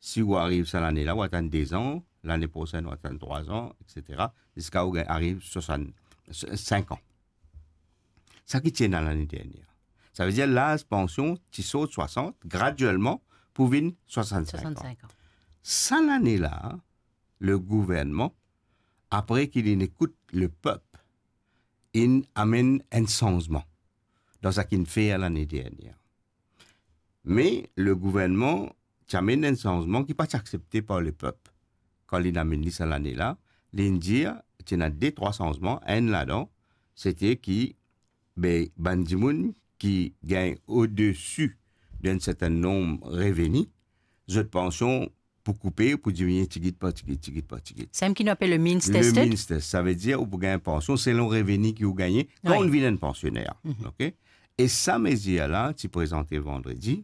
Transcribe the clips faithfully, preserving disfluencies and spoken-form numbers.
Si ou ariv sa lane la, ou atann de zan, lane prosenn ou atann trwa zan, et cetera, ziska ou gagn ariv swasant, sink an. Sa ki ti ena lane dernie. Savedir laz pansion ti sort swasant, graduelman, pou vinn swasant-sink an. Swasant-sink an. Sa lane la, le gouvernman, apre ki linn ekout le pep, inn amenn enn sanzman dan sa ki'nn fer lane dernie. Me le gouvernman ti amenn enn sanzman ki pa ti aksepte par le pep. Kan linn amenn li sa lane la, linn dir, ti ena de, trwa sanzman, enn ladan, sete ki, be, bann dimoun ki gagn odesi d'enn sertenn nonb reveni, zot pansion pou koupe, pou diminie tigit par tigit, tigit par tigit. Samem ki nou apel le means tested? Le means test, savedir ou pou gagn pansion selon reveni ki ou gagne kan ou vinn enn pansioner. Mhm. Ok? E sa mezir la ti prezante vandredi,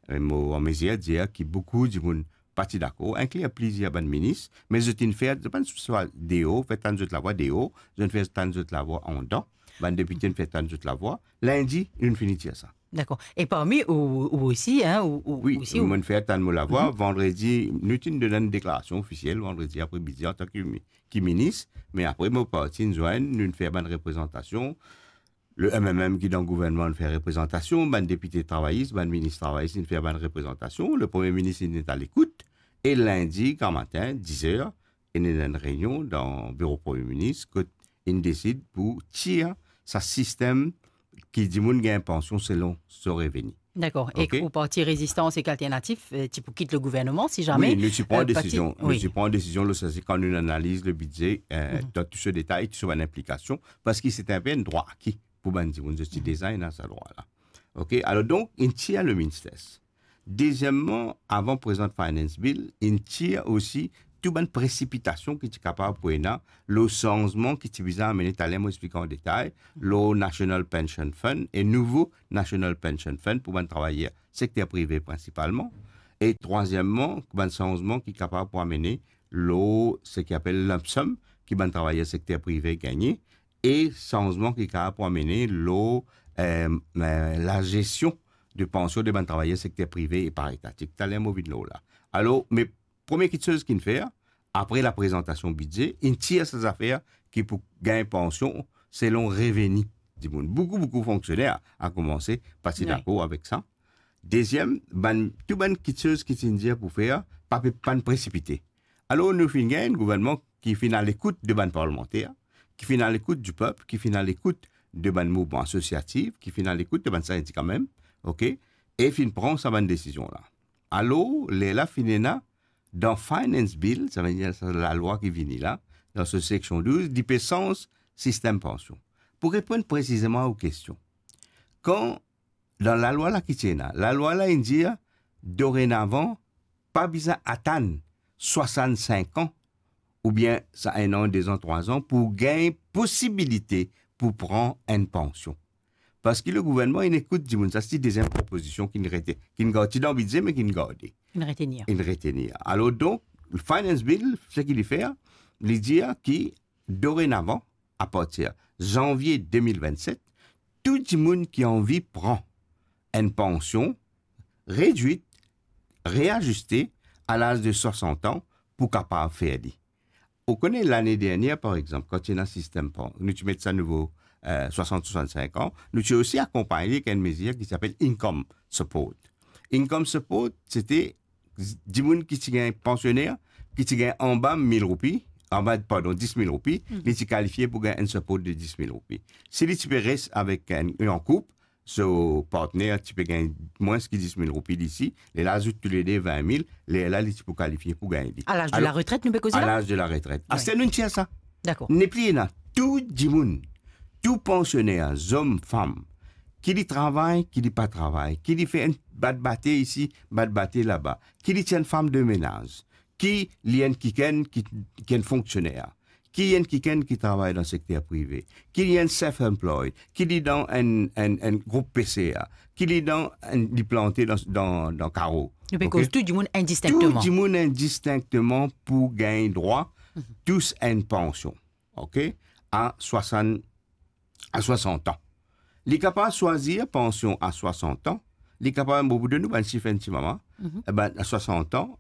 e mo an mezir dir ki boukou dimoun pa ti dakor, inkli plizier bann minis, me zot inn fer, zot pa'nn swa deor, fer tann zot lavwa deor, zot inn fer tann zot lavwa andan, bann depite inn fer tann zot lavwa. Lindi, nou'nn fini tir sa. Dakor. E parmi ou, ou osi, hein, ou, ou Wi, osi, ou mo'nn fer tann mo lavwa. Mhm. Vandredi, nou ti'nn donn enn deklarasion ofisiel vandredi apre midi antan ki mi-, ki minis, me apre mo parti inn zwenn, nou'nn fer bann reprezantasion. Le M M M ki dan gouvernman inn fer reprezantasion, bann depite travayis, bann minis travayis inn fer bann reprezantasion, le premie minis inn alekout, e lindi gramatin, diz er, inn ena enn reynion dan biro premie minis kot inn desid pou tir sa sistem ki dimoun gagn pansion selon so reveni. Dakor. E Ok. ou parti Rezistans ek Alternatif, euh, ti pou kit le gouvernman, si zame, Wi, nou ti pran euh, parti desizion. Nou wi. ti pran desizion, le, sa se kan nou analiz le bidze, euh, Mhm. dan tou so detay, tou so bann inplikasion, parski se enn pe enn drwa aki pou bann dimoun, zot ti Mhm. deza ena sa drwa la. Ok, alor donk, inn tir le means test. Dezieman, avan prezant Finance Bill, inn tir osi tou bann presipitasion ki ti kapav pou ena lor sanzman ki ti bizin amene, taler mo explik an detay, lor National Pension Fund e nouvo National Pension Fund pou bann travayer sekter prive prinsipalman. E trwazieman, bann sanzman ki kapav pou amene lor seki apel lump sum ki bann travayer sekter prive gagne, e sanzman ki kapav pou amene lor, euh, euh, lazesion de pansion de bann travayer sekter prive e paraetatik. Taler mo vinn lor la. Alor, me premie kiksoz ki'nn fer, apre laprezantasion bidze, inn tir sa zafer ki pou gagn pansion selon reveni dimoun. Boukou, boukou fonksioner, a koumanse pa ti Wi. dakor avek sa. Deziem, bann, tou bann kiksoz ki ti'nn dir pou fer, pa pe, pa'nn presipite. Alor, nou finn gagn enn gouvernman ki finn alekout de bann parlmanter, ki finn alekout dipep, ki finn alekout de bann mouvman asosiatif, ki finn alekout de bann sindika mem, ok, e finn pran sa bann desizion la. Alor, lerla finn ena dan Finance Bill, savedir sa lalwa ki vini la, dan so seksion douz, li pe sanz sistem pansion. Pou reponn presizeman a ou kestion, kan dan lalwa la ki ti ena, lalwa la inn dir, dorenavan, pa bizin atann swasant-sink an, oubien sa enn an, de zan, trwa zan, pou gagn posibilite pou pran enn pansion. Parski le gouvernman inn ekout dimoun, sa se ti deziem propozision ki'nn rete, ki'nn gard, ti dan bidze, me ki'nn garde. Inn retenir. Inn retenir. Alor donk, Finance Bill, seki li fer, li dir ki dorenavan, apartir zanvie de mil vennset, tou dimoun ki anvi pran enn pansion redwit, reaziste a laz de swasant an pou kapav fer li. Ou kone lane dernie, par exanp, kan ti ena sistem pan-, nou ti met sa nouvo, euh, swasant, swasant-sink an, nou ti osi akonpagn li ek enn mezir ki ti apel income support. Income support, sete dimoun ki ti gagn, pansioner ki ti gagn anba mil roupi, anba, pardon, dis mil roupi, Mhm. li ti kalifie pou gagn enn support de dis mil roupi. Si li ti pe res avek enn, an koup, so partner ti pe gagn mwins ki dis mil roupi li isi, lerla azout toulede vin mil, lerla li ti pou kalifie pou gagn li. A laz de Alor, laretret, nou pe koze a la? Laz de laretret. Wi. Aster nou tir sa. Dakor. Nepli ena, tou dimoun, tou pansioner, zom, fam, ki li travay, ki li pa travay, ki li fer enn bat bate isi, bat bate laba, ki li ti enn fam de menaz, ki li enn kikenn ki, ki enn fonksioner, ki enn kikenn ki travay dan sekter prive, ki li enn self-employed, ki li dan enn, enn, enn group P C A, ki li dan enn, li plante dan, dan, dan karo. Nou pe Ok? koz tou dimoun indistinkteman. Tou dimoun indistinkteman pou gagn drwa Mhm. tous enn pansion. Ok? A swasant, a swasant an. Li kapav swazir pansion a swasant an. Li kapav, mo pou donn nou bann sif enn ti moman. Mhm. E ben, a swasant an,